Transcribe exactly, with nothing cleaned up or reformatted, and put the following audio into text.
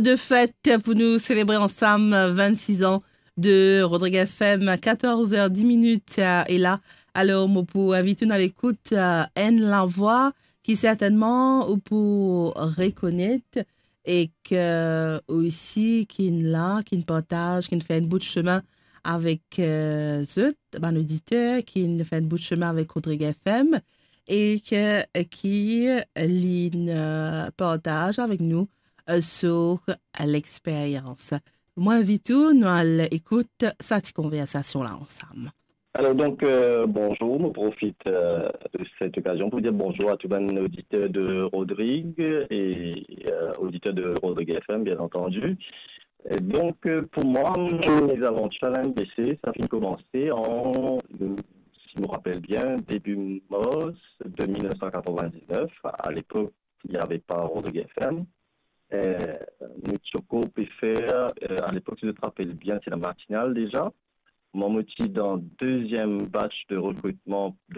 de fet pou nou selebre ansam vennsis an de Rodrig F M, katorz er dis minit, euh, e la, alor, mo pou invit ou al ekout, euh, enn lavwa ki sertennman ou pou rekonet e ki osi ki'nn la, ki'nn partaz, ki'nn fer enn bout sime avek, euh, zot, bann oditer, ki'nn fer enn bout sime avek Rodrig F M e ki, ki li'nn, euh, partaz avek nou, euh, sur lexperyans. Mo invit ou, nou al ekout sa ti konversasion la ansam. Alors donc, euh, bonjour, je profite euh, de cette occasion pour dire bonjour à tous les auditeurs de Rodrig et euh, auditeurs de Rodrig F M, bien entendu. Et donc, euh, pour moi, mes aventures à la M B C, ça a commencé en, si je me rappelle bien, début mars de mille neuf cent quatre-vingt-dix-neuf. À l'époque, il n'y avait pas Rodrig F M. Euh, nous, Choco, Peffer, euh, à l'époque, si je me rappelle bien, c'est la matinale déjà. Moi, je suis dans le deuxième batch de recrutement de